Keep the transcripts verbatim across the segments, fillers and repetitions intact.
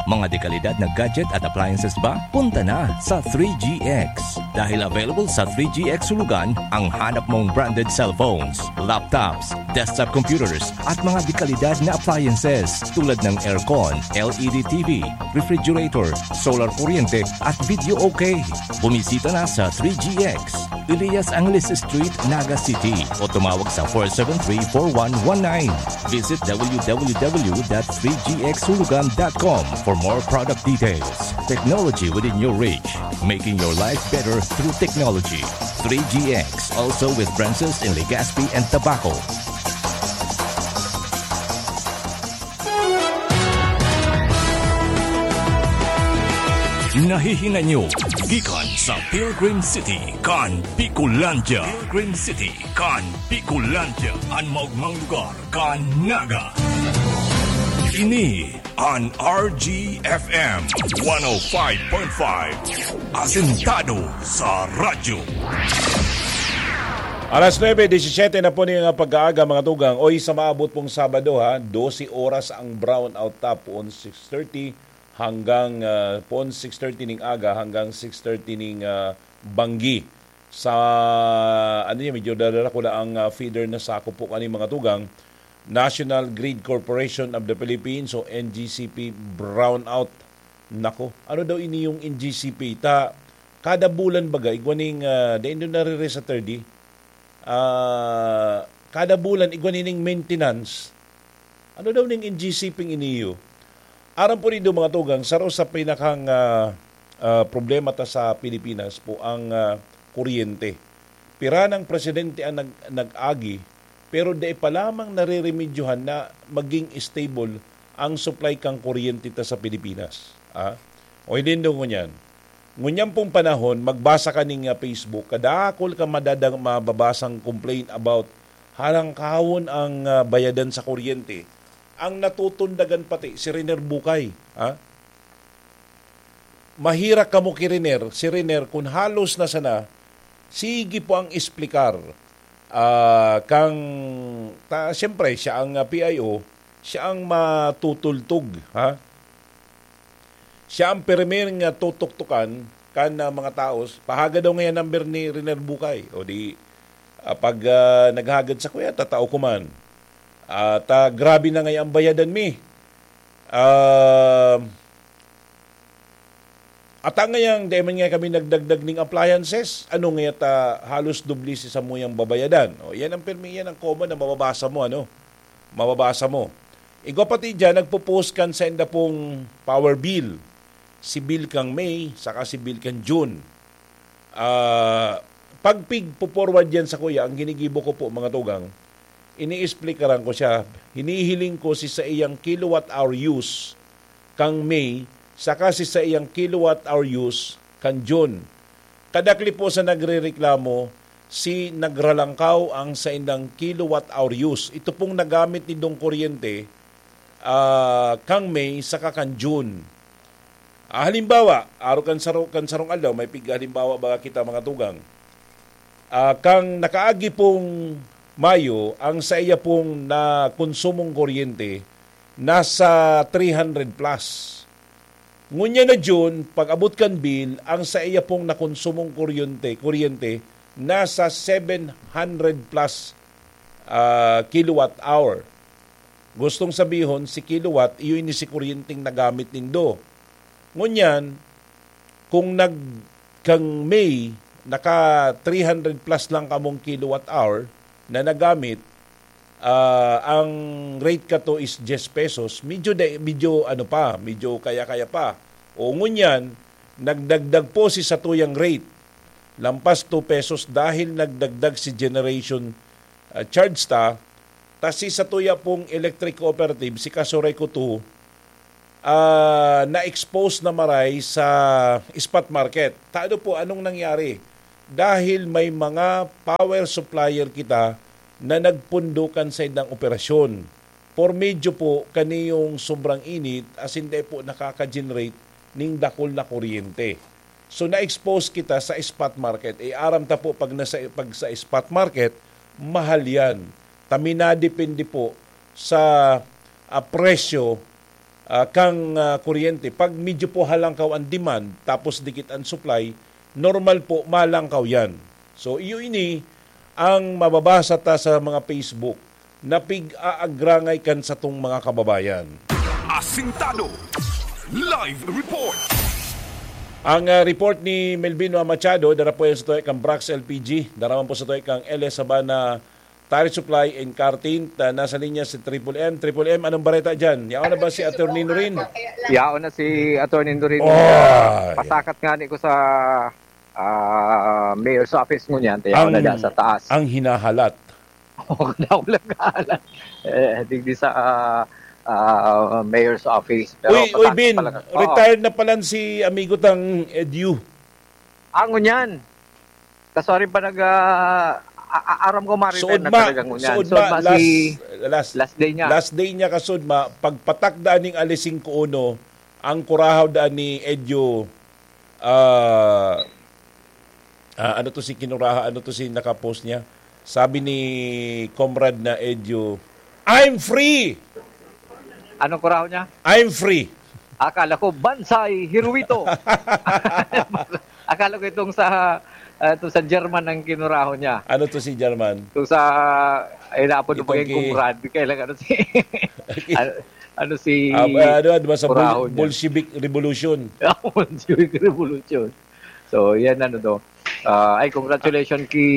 Mga dekalidad na gadget at appliances ba? Punta na sa three G X. Dahil available sa three G X Hulugan ang hanap mong branded cellphones, laptops, desktop computers, at mga dekalidad na appliances tulad ng aircon, L E D T V, refrigerator, solar kuryente, at video okay. Bumisita na sa three G X, Elias Angeles Street, Naga City, o tumawag sa four seven three, four one one nine. Visit W W W dot three G X hulugan dot com for more product details. Technology within your reach, making your life better through technology. Three G X, also with branches in Legazpi and Tabaco. Nahihinanyo gikan sa Pilgrim City kan Bicolandia. Pilgrim City kan Bicolandia, an maogmang lugar kan Naga. Ini an R G F M one oh five point five, asentado sa radyo. Alas nuebe disisete na po niya nga pag-aaga, mga tugang. Oy, sa maabot pong Sabado, ha, dose oras ang brownout ta, poon six thirty hanggang, ah, poon six thirty ning aga hanggang six thirty ning, ah, banggi. Sa, ano niya, medyo dadala ko na ang, ah, feeder na sakop po kani, mga tugang. National Grid Corporation of the Philippines o N G C P brownout. Nako, ano daw ini yung N G C P? Ta, kada bulan baga, igwa ning, ah, dai nindo nariri sa thirty. Ah, kada bulan, igwa nining maintenance. Ano daw ning N G C P iniyo? Aram po nindo, mga tugang, saro sa pinakang, ah, ah, problema ta sa Pilipinas po ang, ah, kuryente. Pira nang presidente ang nag-, nag-agi, pero dai pa lamang nareremedyohan na maging stable ang supply kan kuryente ta sa Pilipinas. Ah? O hindi, ngunyan. Ngunyan pong panahon, magbasa ka ning, ah, Facebook, kadakol ka madadang, mababasang complain about halangkawon ang, ah, bayadan sa kuryente. Ang natutundagan pati, si Riner Bukay. Ha? Mahirak kamo ki Riner, si Riner, kun halos na sana, sige po ang explicar. Ah, kang, ta, siyempre, siya ang, ah, P I O, siya ang matutultog, ha? Siya ang pirmi nga tutuktukan kan, ah, mga taos. Pahaga daw ngayon number ni Riner Bukay. O di, ah, pag, ah, naghagad sa kuya, tatao ko man. At, ah, grabe na ngayon ang bayadan mi. Ah, at ang ngayang, dahil man nga kami nagdagdag ning appliances, ano nga ta halos doble si samuyang babayadan? O, yan ang pirmi, yan ang common na mababasa mo, ano? Mababasa mo. Igwa pati dyan, nagpo-post kan sa inda pong power bill. Si bill kang May, saka si bill kang June. Ah, pag pig-forward yan sa kuya, ang ginigibo ko po, mga tugang, ini-explikaran ko siya. Hinihiling ko si saiyang kilowatt hour use kang May, saka si saiyang kilowatt hour use kan June. Kadakli po sa nagrereklamo, si nagralangkaw ang saindang kilowatt hour use. Ito pong nagamit nindong kuryente, ah, kang May saka kan June. Ah, halimbawa, aro kan saro-, kan sarong aldaw, may pighalimbawa baga kita, mga tugang. Ah, kang nakaagi pong Mayo, ang saiya pong nakonsumong kuryente nasa three hundred plus. Ngunyan na June, pag-abot kan bill, ang saiya pong nakonsumong kuryente, kuryente nasa seven hundred plus, ah, kilowatt hour. Gustong sabihon, si kilowatt, iyo ini si kuryenteng nagamit nindo. Ngunyan, kung nag-, kang May, naka three hundred plus lang kamong kilowatt hour na nagamit, ah, ang rate kato is diyes pesos, medyo da-, medyo ano pa, medyo kaya-kaya pa. O ngunyan, nagdagdag po si satuyang rate. Lampas two pesos dahil nagdagdag si generation, ah, charge ta, ta si satuya pong electric cooperative, si Kasureco two, ah, na-expose na maray sa spot market. Tado po, anong nangyari? Dahil may mga power supplier kita na nagpundo kan saindang operasyon. Por medyo po, kaniyong sobrang init, asin dai po nakaka-generate ning dakul na kuryente. So, na-expose kita sa spot market. Eh, aram ta po, pag, nasa, pag sa spot market, mahal yan. Ta minadepende po sa, ah, presyo ah, kang, ah, kuryente. Pag medyo po halangkaw ang demand, tapos dikit ang supply, normal po, malangkaw yan. So, iyo ini ang mababasa ta sa mga Facebook na pig-aagrangay kan satong mga kababayan. Asintado. Live report. Ang, ah, report ni Melvin Machado, dara po yan sa tuway kang Brax L P G, dara man po sa tuway kang L S Sabana Tire Supply and Car Tint. Ah, nasa linya si Triple M. Triple M, anong bareta dyan? Yaon na ba si Attorney Norin? Yaon na si Attorney Norin. Oh, Ah, yeah. Pasakat nga ni ko sa, ah, mayor's office ngunyan. Tayo Ang, na da sa taas. ang hinahalat. Oh, daw lang kahalat. Eh, digdi sa, ah, ah, mayor's office. Pero Uy, uy, pasakat Bin, pala ka-, oo. retired na pala si amigo tang Edu. Ah, ngunyan. Kasari pa nag, ah, a-, a-, aram ko ma-retire Suod na ma, talaga ngunyan. suod Suod ma, ma last, si last, last day niya. last day niya kasud ma, pagpatak daan ning alas singko uno, ang kurahaw daan ni Edyo, ah, ah, ano to si Kinuraha, ano to si nakapost niya? Sabi ni Comrade na Edyo, "I'm free!" Anong kurahaw niya? "I'm free!" Akala ko, "Bansay Hiruito." Akala ko itong sa, ah, itong sa German ang kinurahaw niya. Ano to si German? Itong sa, ay, naapod Itong maging ki- Conrad. Kailan ano si, ano, ano si Ah, ba- ano, ano ba sa Bol- Kurahon niya? Bolshevik Revolution? Bolshevik Revolution. So, yan ano to. Ah, ay, congratulations kay,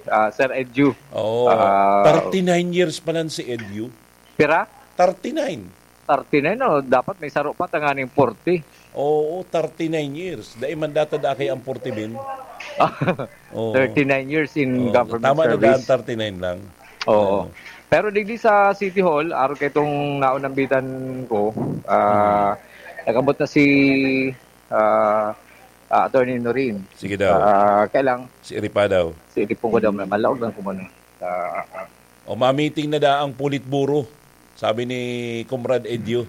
ah, Sir Edu. Oo. Ah, Thirty-nine years pa lang si Edu. Pira? Thirty-nine. Thirty-nine, no? Dapat may saro pa, tanganing forty. Oo, thirty-nine years. Dai man data da kay ang forty bin. Oo. Thirty-nine years in Oo, government tama na service. daan, thirty-nine lang. Oo. Ano? Pero digdi sa City Hall, araw kay itong naunambitan ko, ah, Hmm. nag-abot na si, ah, ah, Attorney Norin. Sige daw. Ah, kaya lang, Si Iripa daw. si Iripa ko daw, may malaog lang kumano. Ah, ah. O, ma-meeting na da ang Politburo, sabi ni Comrade Edio.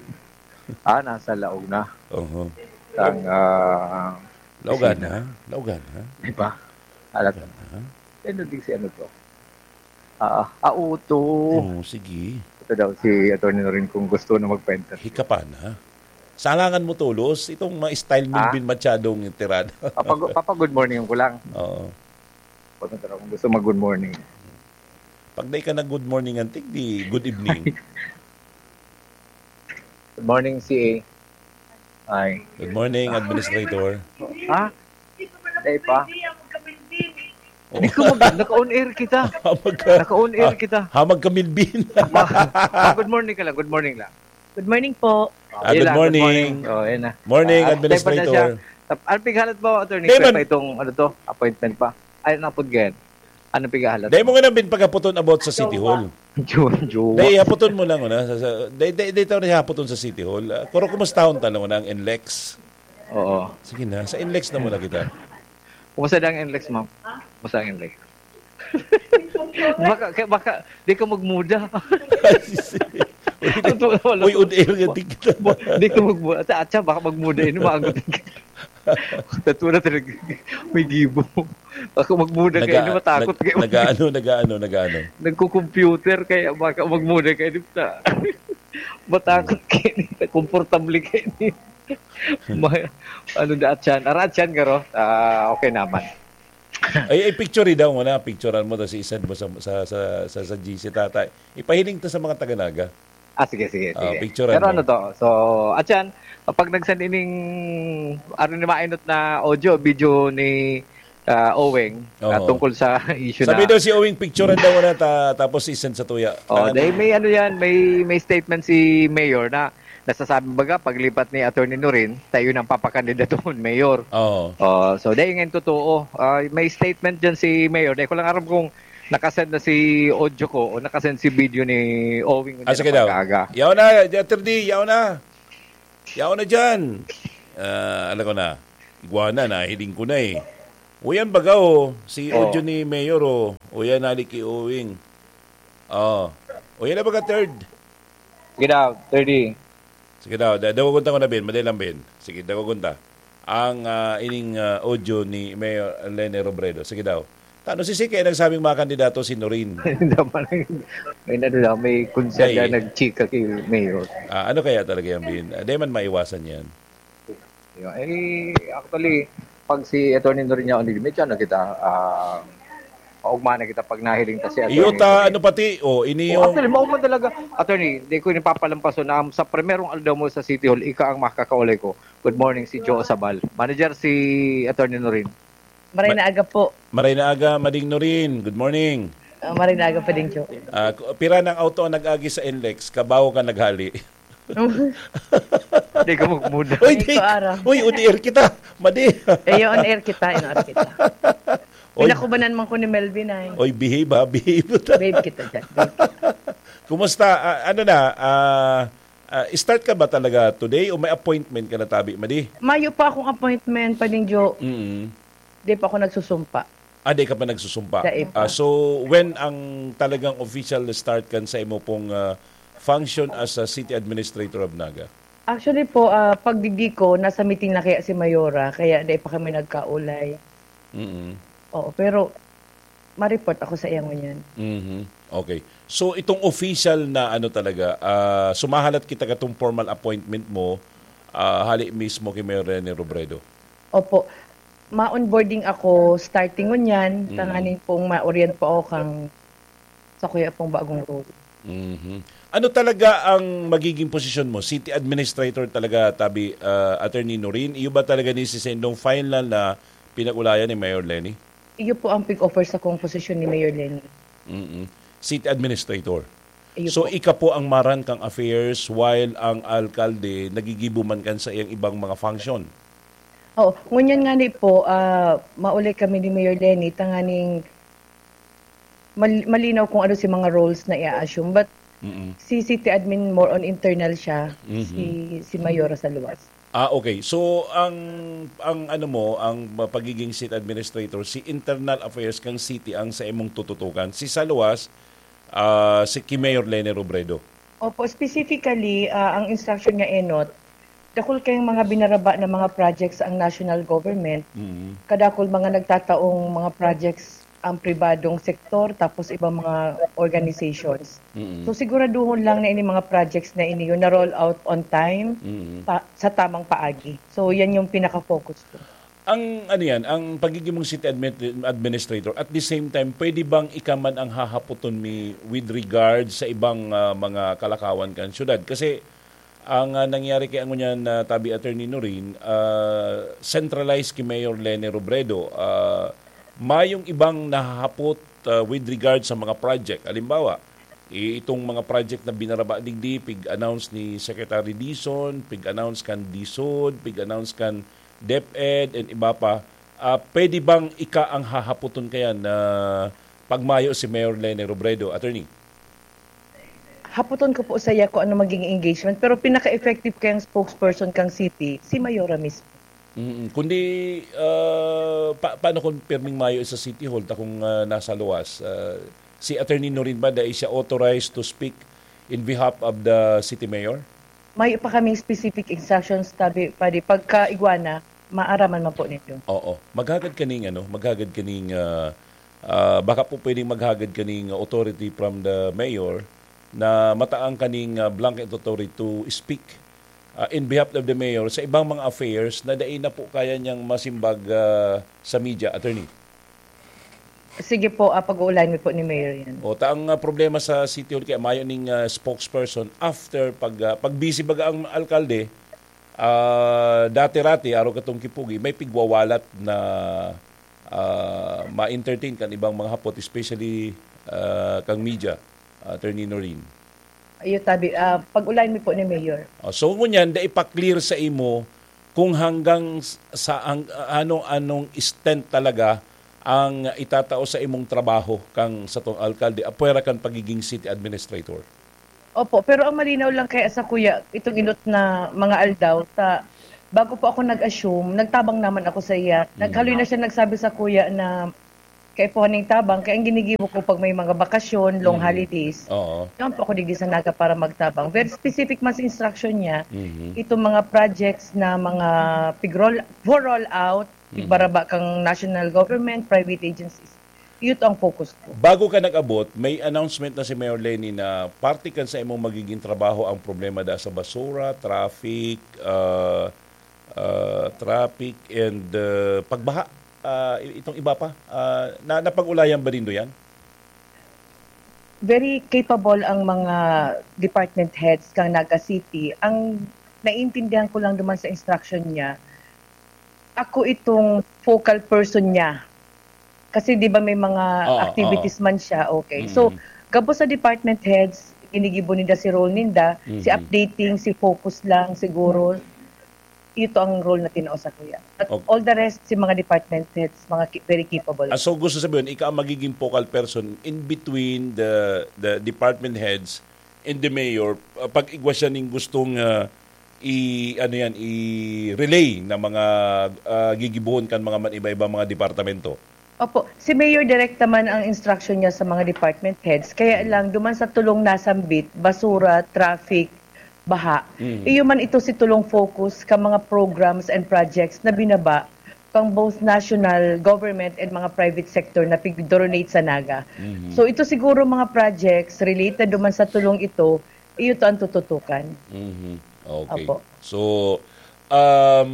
Ah, nasa laog na. Oho. Ang, ah, Laogan, opisina. ha? Laogan, ha? Di ba? Alam Laogan, ha? Ano din si ano to? Ah, ah, uto. Oo, sige. Ito daw si Attorney Norin kung gusto na magpa-interview. Hikapan, ha? Salangan mo tolos itong ma-style mo Ah? Bin Machadong tirada. Papag-, papag-good morning ko lang. Oo. Pag kung gusto mag-good morning. Pag di ka nag-good morning, antik, di good evening. Good morning, C A. Ay. Good morning, Administrator. Ha? Day pa? Oo. Hindi ko mag-, naka-on air kita. Hamag ka, Naka-on air ah, kita. hamag ka, Milvin. Ma-, ah, good morning ka lang, good morning lang. Good morning po. Ah, Yun good lang, good morning. morning. Oh, yun na. Morning, Ah, Administrator. Stay pa na siya. Tap-, ano pighalat mo, Attorney? Day Kaya man. pa itong, ano to, appointment pa? Ay, napod ganyan. Ano pighalat Day mo? mo nga nang bin paghaputon about sa City Hall. Jowa, jowa. Day, haputon mo lang, una. Sa, sa, day, day, day, tao na haputon sa City Hall. Ah, kuro, kumusta hon tanong na ang N L E X? Oo. Sige na, sa N L E X na muna kita. Kumusta ang N L E X, ma'am? Kumusta ang N L E X? Baka, kaya baka, di ka magmuda. Uy, Ito, wala uy, ko. On air nga, di kita. Di ka magmuda. Atsa, atsa, baka magmuda. Ino, maagot ka. Tatua na talaga. May gibo. Baka magmuda ka, Naga-, ino, matakot nag-, kayo. nagaano, nagaano, nagaano. Nagko-computer, kaya baka magmuda ka, ino, ta-, matakot kayo, komportable kayo. Ma-, ano, daat siya? Araat siya, garo? Ah, okay naman. Ay, ay, picture daw mo na. Picturean mo, tas i-send mo sa, sa, sa, sa, sa G C, tatay. Ipahiling ta sa mga taga-Naga. Ah, sige, sige, Ah, sige. picturean Pero mo. ano to? So, at yan, pag nag-send ining, ano ni, mainot na audio, video ni, ah, Owing, ah, Oo. tungkol sa issue Sabi na daw si Owing, picturean daw mo na ta-, tapos i-send sa tuya. Oh, Tangan dahil may ano yan, may, may statement si Mayor na nasasabi, baga, paglipat ni Attorney Norin, tayo nang papakandidatuhon, Mayor. Oo. Oh, so, dahil ngayon totoo, ah, may statement dyan si Mayor. Dahil ko lang aram kung nakasend na si audio ko o nakasend si video ni Owing Ah, sige na daw. pagkaaga. Yaw na, Attorney, yaw na. Yaw na dyan. Ah, alam ko na. Iguana, nahiling ko na eh. O yan, baga, oh. Si Oh. audio ni Mayor, oh. O yan, nalik kay Owing. Oh. O yan na, baga, third. Sige daw, thirty. Sige daw, da-, dawagon ta ko na, Ben. Madali lang, Ben. Sige, dawagon ta. Ang, ah, ining, ah, audio ni Mayor Leni Robredo. Sige daw. Tano si Sik, kaya nagsabing mga kandidato si Norin. Hindi man, may ano lang, may konsehal Ay. na nagchika kay Mayor. Ah, ano kaya talaga yan, Bin? Ah, di man maiwasan yan. Yun. Eh, actually, pag si Attorney Norin niya, medyo ano kita, ah, maugma na kita pag nahiling ta si Attorney Iyo ta, Norin. ano pati, o, ini Oh, yung actually, maugma talaga. Attorney, di ko ipapalampaso na sa primerong aldaw mo sa City Hall, ika ang makakaulay ko. Good morning, si Joe Sabal. Manager, si Attorney Norin. Maray Ma- na aga po. Maray na aga, Mading Norin. Good morning. Ah, maray na aga pa din, Joe. Ah, ku- pira ng auto ang nag-agi sa N lex? Kabaw ka naghali. Hindi ka magmuna. Uy, Ay, di, ko ara. Uy, on air kita. Madi. Eh, on air kita, on air kita. Oy. Pinakubanan man ko ni Melvin ay. Oy, behave ha, behave ta. Babe kita dyan, babe kita. Kumusta? Ah, ano na, ah, ah, start ka ba talaga today o may appointment ka na tabi, Madi? Mayo pa akong appointment, Pading Joe. Mm. Di pa ako nagsusumpa. Ah, di ka pa nagsusumpa. Dai pa. Ah, so, when ang talagang official na start kan sa imo pong, ah, function as a city administrator of Naga? Actually po, ah, pagdigdi ko, nasa meeting na kaya si Mayora, kaya dai pa kami nagkaulay. Mm. Oo, pero ma-report ako sa iya ngunyan. Mhm. Okay. So, itong official na ano talaga, ah, sumahalat kita katong formal appointment mo, ah, hali mismo kay Mayor Rene Robredo? Opo. Ma-onboarding ako starting ngunyan, Mm. tanganing pong ma-orient po ako kang sa kuya pong bagong role. Mhm. Ano talaga ang magiging posisyon mo? City administrator talaga, tabi, ah, Attorney Norin? Iyo ba talaga ni si Sendong final na pinag-ulayan ni Mayor Lenny? Iyo po ang pig-offer sa kong posisyon ni Mayor Lenny. Mm-mm. City administrator. Iyo So, po. ika po ang maran kang affairs while ang alkalde nagigibo man kan sa iyang ibang mga function? Oo. Ngunyan nga ni po, ah, maulay kami ni Mayor Lenny, tanganing mal-, malinaw kung ano si mga roles na i-assume. But Mm-mm. si city admin, more on internal siya, Mhm. si, si Mayora sa luwas. Ah, okay. So, ang, ang ano mo, ang pagiging city administrator, si internal affairs kang city ang sa imong tututukan. Si sa luwas, ah, si ki Mayor Lene Robredo. Opo, specifically, ah, ang instruction niya, Enot, dakul kayong mga binaraba na mga projects ang national government. Mm. Kadakul mga nagtataong mga projects ang pribadong sektor, tapos ibang mga organizations. Mm. So, siguraduhon lang na ini mga projects na ini yun na-roll out on time, Mm. ta-, sa tamang paagi. So, yan yung pinaka-focus ko. Ang, ano yan, ang pagiging mong city admin-, administrator, at the same time, pwede bang ika man ang hahapoton mi with regard sa ibang, ah, mga kalakawan kan syudad? Kasi ang, ah, nangyari kay ang ngunyan na tabi Attorney Norin, ah, centralized ki Mayor Lene Robredo. Ah, mayong ibang nahahapot, ah, with regard sa mga project. Halimbawa, i-, itong mga project na binaraba digdi, pig-announce ni Secretary Dizon, pig-announce kan DSUD, pig-announce kan DepEd, and iba pa. Ah, pwede bang ika ang hahapoton kaya na pagmayo si Mayor Lene Robredo, Attorney? Hapoton ko po saya kung ano magiging engagement, pero pinaka-effective kayang spokesperson kang city, si Mayora mismo. Mm, kundi, ah, pa-, paano kung pirming mayo sa City Hall, ta kung, ah, nasa luwas, ah, si Attorney Norin ba, dai siya authorized to speak in behalf of the city mayor? Mayo pa kaming specific instructions, tabi, padi. Pagka igwa na, maaraman man po ninyo. Oo. Maghagad kaning, ano, maghagad kaning, ah, ah, baka po pwedeng maghagad kaning authority from the mayor na mataang kaning, ah, blanket authority to speak, ah, in behalf of the mayor sa ibang mga affairs na dai na po kaya niyang masimbag, ah, sa media, attorney. Sige po, ah, pag-uulayan mi po ni Mayor yan. O, ta ang, ah, problema sa City Hall, kaya mayo ning, ah, spokesperson after pag, ah, pag busy baga ang alkalde, ah, dati-rati, araw katong kipugi, may pigwawalat na, ah, ma-entertain kan ibang mga hapot, especially, ah, kang media, Attorney Norin. Iyo, tabi, ah, pag-ulayan mi po ni Mayor. Oh, so, ngunyan, da ipa-clear sa imo kung hanggang s-, sa ang, anong, anong extent talaga ang itatao sa imong trabaho kang satong alkalde, apwera kan pagiging city administrator. Opo, pero ang malinaw lang kaya sa kuya, itong inot na mga aldaw, ta-, bago po ako nag-assume, nagtabang naman ako sa iya. Mm. Naghaloy na siya nagsabi sa kuya na kaipuhan ning tabang, kaya ang ginigibo ko pag may mga bakasyon, long Mm. holidays, Oo. yan po ako digdi sa Naga para magtabang. Very specific man sa instruction niya, Mhm. itong mga projects na mga pig-roll, for roll out, Mhm. pigbaraba kang national government, private agencies. Iyo to ang focus ko. Bago ka nag-abot, may announcement na si Mayor Leni na parte kan sa imong magiging trabaho ang problema da sa basura, traffic, ah, ah, traffic, and, ah, pagbaha. Ah, i-, itong iba pa, ah, na, napag-ulayan ba nindo yan? Very capable ang mga department heads kang Naga City. Ang naiintindihan ko lang naman sa instruction niya, ako itong focal person niya. Kasi di ba may mga Oo, activities oo. man siya, okay. So, Mm. gabos sa department heads, ginigibo ninda si role ninda, si Mhm. updating, si focus lang siguro. Ito ang role na tinao sa kuya. But Okay. all the rest, si mga department heads, mga ki-, very capable. Ah, so gusto sabihin, ikaw ang magiging focal person in between the, the department heads and the mayor, ah, pag igwa siya ning gustong, ah, i-, ano yan, i-relay na mga, ah, gigibohon kan mga man-, iba-iba mga departamento? Opo, si Mayor direkta man ang instruction niya sa mga department heads. Kaya Mm. lang, duman sa tulong nasambit, basura, traffic, baha. Mm. Iyo man ito si tulong focus ka mga programs and projects na binaba pang both national government and mga private sector na pig-donate sa Naga. Mhm. So, ito siguro mga projects related duman sa tulong ito, iyo to ang tututukan. Mhm. Okay. Opo. So, um,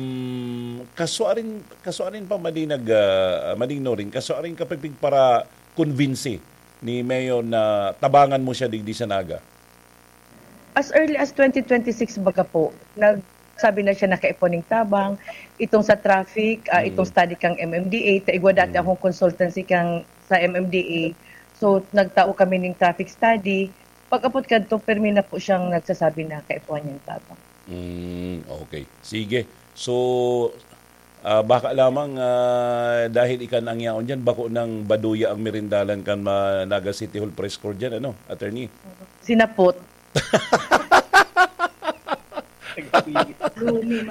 kasuarin, kasuarin pa madi nag, ah, mading Norin, kasuarin ka pipig para convince ni Mayor na tabangan mo siya digdi sa Naga? As early as twenty twenty-six baga po, nagsabi na siya na kaipuhan ning tabang, itong sa traffic, ah, Mm. itong study kang M M D A, ta igwa dati Mm. akong consultancy kang, sa M M D A. So, nagtao kami ning traffic study. Pag-abot kadto, permi na po siyang nagsasabi na kaipuhan niyang tabang. Mm, okay. Sige. So, ah, baka lamang, ah, dahil ika na ang yaon dyan, bako nang baduya ang merindalan kan ma-, Naga City Hall Press Corps dyan, ano, attorney? Sinapot.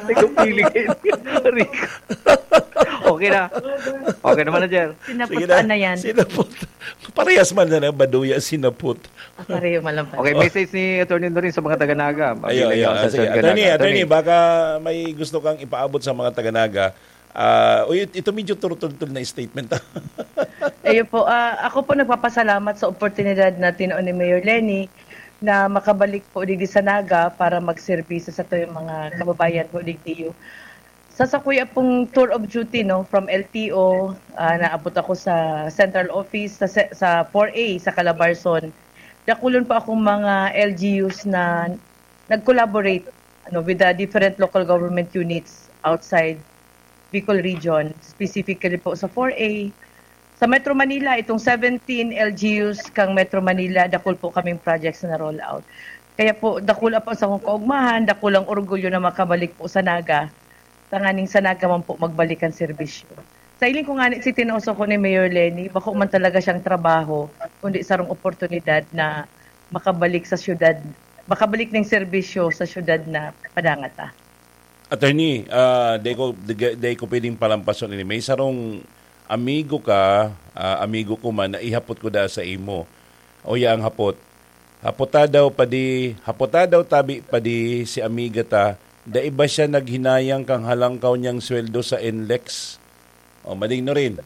Nagpili kayo. Rico. Okay na. Okay na, manager. Sinapot Sige na. na yan. Sinapot. Parehas man na, baduya, sinapot. Ah, pareho man lang pala. Okay, message ni Attorney Norin sa mga taga-Naga. Ayun, Mabilang ayun. ako Ah, sa sige. Attorney, Naga. Attorney, Attorney. baka may gusto kang ipaabot sa mga taga-Naga. Ah, uy, ito medyo turutultul na statement, ah. Ayun po, ah, ako po nagpapasalamat sa oportunidad na tinao ni Mayor Leni na makabalik po digdi sa Naga para magserbisyo sa tuyong mga kababayan po digdi. Sa sakuya pong tour of duty, no, from L T O, ah, naabot ako sa central office, sa se-, sa four A, sa Calabarzon. Dakulon po akong mga L G Us na nag-collaborate, ano, with the different local government units outside Bicol region, specifically po sa four A. Sa Metro Manila, itong seventeen L G Us kang Metro Manila, dakul po kaming projects na roll out. Kaya po, dakul po sa akong kaugmahan, dakulang orgulyo na makabalik po sa Naga, tanganing sa Naga man po magbalik ang serbisyo. Sa hiling ko ngani, si tinao sa ko ni Mayor Leni, bako man talaga siyang trabaho, kundi sarong oportunidad na makabalik sa syudad, makabalik ning serbisyo sa syudad na padangata. Attorney, ah, di ko, di, di ko pwedeng palampason ini. May sarong amigo ka, ah, amigo ko man, na ihapot ko da sa imo. O ya ang hapot. Hapota daw padi, hapota daw tabi padi si amiga ta, dai ba siya naghinayang kang halangkaw niyang sweldo sa N L E X? O, mading no rin.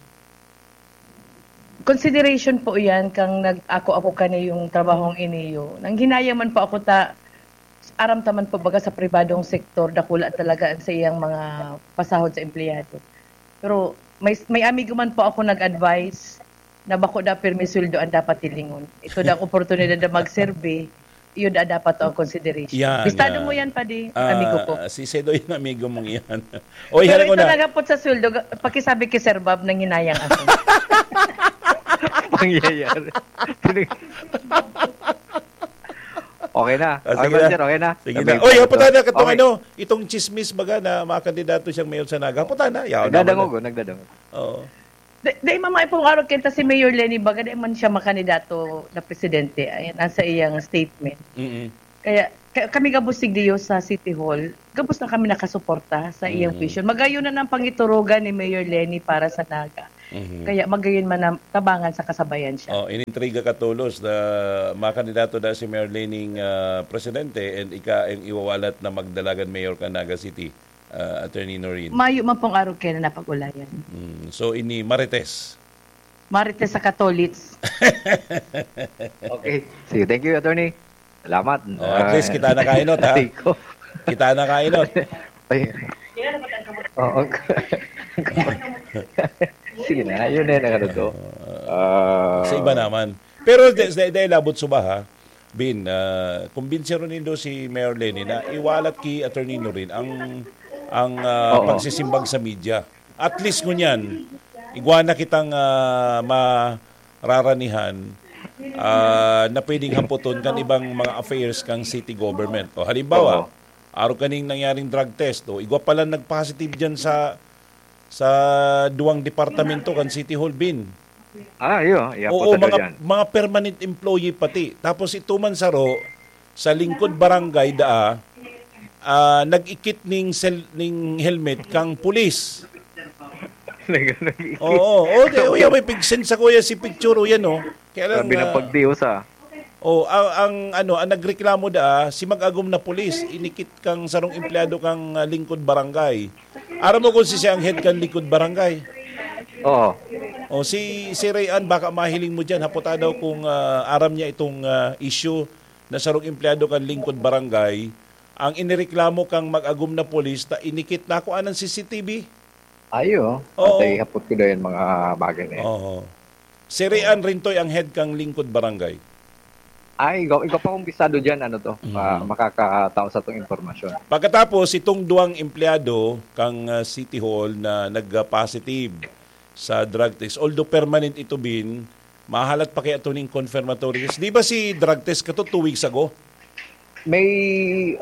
Consideration po yan kang nag-ako-ako ka na yung trabahong iniyo. Nang hinayang man po ako ta, aram ta man po baga sa pribadong sektor, dakula talaga ang sa iyang mga pasahod sa empleyado. Pero may, may amigo man po ako nag-advise na bako da pirmi sweldo ang dapat hilingon. Ito da ang oportunidad na magserbi, iyo da dapat ang consideration. Yan, Bistado yan. mo yan, padi, Ah, amigo ko. Si Sedo yung amigo mong yan. Oy, Pero hali ko ito na. nagapot sa sweldo, ga-, pakisabi kay Sir Bob nang hinayang ako. Pangyayari. Pinag- Okay na. Ah, Ay, sige na. manager, okay na. Sige Sabi na. ko Oy, ito. haputan na katong Okay. ano, itong chismis baga na mga kandidato siyang mayor sa Naga. Haputan na. Yaw, Nagdadangog, naman na. oh, nagdadangog. Oo. Di, di, mama, ipong araw kita si Mayor Lenny, baga di man siya makandidato na presidente. Ayan, nasa iyang statement. Mm-mm. Kaya, ka-, kami gabos sigdiyo sa City Hall, gabos na kami nakasuporta sa iyang Mm. vision. Magayon na ng pangiturugan ni Mayor Lenny para sa Naga. Mhm. Kaya magayon man ang tabangan sa kasabayan siya. Oh, inintriga ka tolos na makandidato na si Mayor Lening, ah, presidente and ika ang iwawalat na magdalagan mayor ka Naga City, ah, Attorney Noreen. Mayo man pong araw kaya na napag-ulayan. Mm. So, ini Marites. Marites sa Katolits. Okay. Sige, thank you, attorney. Salamat. Oh, at least kita na kainot, ha? Aray ko. Kita na kainot. Ay. Oo. Sige na, yun na yung nakatuto. Ah, Sa iba naman. Pero de, de, de labot suba, ha? Bin, ah, kumbinsiron nindo si Mayor Leni na iwalat ki Attorney Norin ang ang ah, Oo. pagsisimbag sa media. At least ngunyan, igwa na kitang ah, mararanihan ah, na pwedeng hapoton kan ibang mga affairs kang city government. O halimbawa, Oo. Arog kaning nangyaring drug test, o igwa pala nag-positive diyan sa sa duwang departamento kan City Hall, Bin. Ah, iyo. Iya po Oo, talaga mga, yan. mga permanent employee pati. Tapos ito man saro, sa lingkod barangay daa, ah, nag-ikit ning, sel, ning helmet kang pulis. Oo, oh, di, oh, yeah, may pigsen sa kuya si picture, oh, yan, oh. Kaya lang, Grabe ng ah, pagdios, ah. Oh, ang, ang ano, ang nagreklamo da, si mag-agom na pulis, inikit kang sarong empleyado kang ah, lingkod barangay. Aram mo kung si siya ang head kang lingkod barangay? Oo. O si si Ray Ann, baka mahiling mo diyan, haputa daw kung ah, aram niya itong ah, issue na sarong empleyado kang lingkod barangay, ang inireklamo kang mag-agom na pulis ta inikit na ako anang C C T V. Ayo. Oo. Patay hapot ko daw yung mga bagay na yan. Oo. Si Ray Ann Rintoy ang head kang lingkod barangay. Ay, ikaw, ikaw pa kung bisado dyan, ano to, Mhm. ah, makakatao sa itong impormasyon. Pagkatapos, itong duwang empleyado kang ah, City Hall na nag-positive sa drug test, although permanent ito, Bin, mahalat pa kaya ito ning confirmatory test. Di ba si drug test kato two weeks ago? May,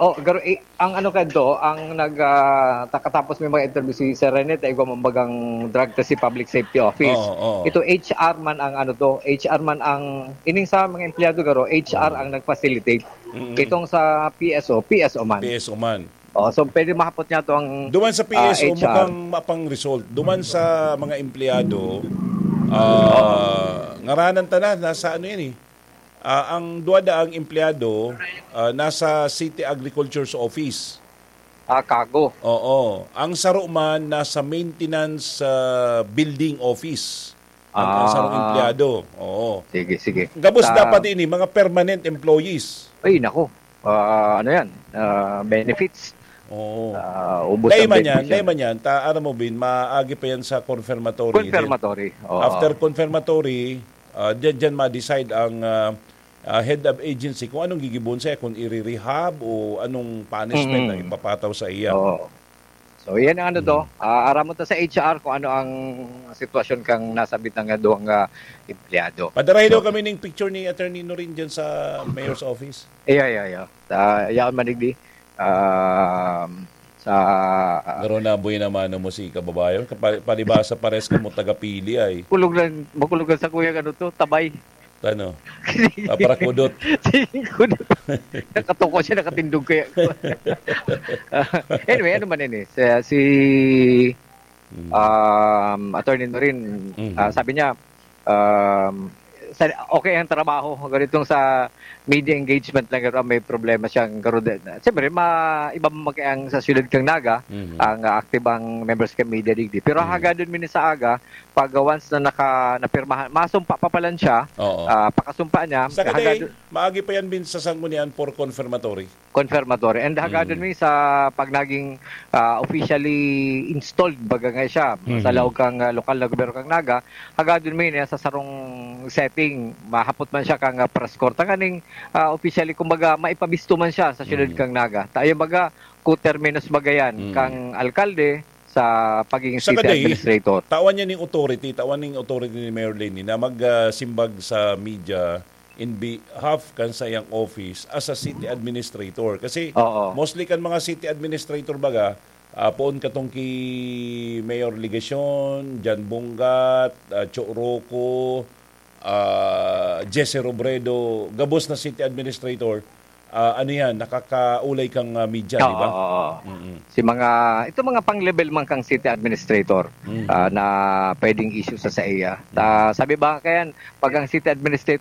oh, garo, eh, ang ano ka do, ang nag, ah, takatapos may mga interview si Sir Rene, tayo mambagang drug test si Public Safety Office. Oo, oo. Ito H R man ang ano to, H R man ang, ining sa mga empleyado garo, H R ang nag-facilitate. Mm-mm. Itong sa P S O, P S O man. P S O man. Oh, so pwede mahapot niya to ang Duman sa P S O, ah, H R. Mukhang mapang result. Duman sa mga empleyado, ah, ngaranan ta na, nasa ano yan eh. Ah, ang duwada ang empleyado, ah, nasa City Agriculture's Office. Ah, kago. Oo. Ang saro man nasa maintenance ah, building office. Ang, ang sarong Ah. empleyado. Oo. Sige, sige. Gabos Sa- dapat ini, mga permanent employees. Ay, nako. Ah, ano yan? Ah, benefits. Oo. Ah, ubos Dahil ang man yan, benefits dahil yan. man yan, ta, aram mo, Bin, maagi pa yan sa confirmatory. Confirmatory. Oo. After confirmatory, ah, dyan, dyan ma-decide ang ah, ah, head of agency kung anong gigibon siya, kung i-rehab o anong punishment Mm. ang ipapataw sa iya. Oo. So, yan ang ano to. Mm. Ah, aram mo to sa H R kung ano ang sitwasyon kang nasabit ng duwang ah, empleyado. Padarahin daw So, kami ning picture ni Attorney Norin dyan sa mayor's office. Iya, iya, iya. Sa yaon manigdi. Um, sa Pero nabuhay naman mo si kababayan. Kapal- Palibasa pares ka mo taga-Pili ay. Kulog lang, makulog lang sa kuya ano to, tabay. Ano? Paparakudot. Kulog. Nakatuko siya, nakatindog kaya. Anyway, ano man yun eh. Si, si Mm. um, Attorney Norin, Mhm. ah, sabi niya, um, sa, okay ang trabaho, ganitong sa media engagement lang, pero may problema siyang garo. Siyempre, ma, iba man kaya ang sa siyudad kang Naga, Mhm. ang ah, active ang members kang media digdi. Pero Mhm. hagadon mi sa aga, pag once na naka, napirmahan, masumpa pa pala siya, Oo. ah, pakasumpa niya, Sa hagadon, maagi pa yan, Bin, sa sanggunian for confirmatory. Confirmatory. And hagadon Mm. mi sa pag naging ah, officially installed, baga nga siya, Mhm. sa laog kang ah, lokal na gobyerno kang Naga, hagadon mi niya sa sarong setting, mahapot man siya kang ah, press corps. Tanganing ah, officially, kumbaga, maipabisto man siya sa siyudad Mhm. kang Naga. Tayo baga, coterminous baga yan, Mhm. kang alkalde sa pagiging Saka city day, administrator. Tawan niya ning authority, tawan ning authority ni Mayor Leni na magsimbag sa media in behalf kan sa iyang office as a city administrator. Kasi Oo. mostly kan mga city administrator baga, ah, poon katong ki Mayor Legacion, Jan Bungat, ah, Cho Roco, ah, Jesse Robredo, gabos na city administrator, ah, ano yan, nakakaulay kang ah, media, di ba? Oo, oo. Mm-mm. Si mga, ito mga pang-level man kang city administrator Mm. ah, na pwedeng issue sa sa iya. Ta, sabi ba kaya, pag ang city administrator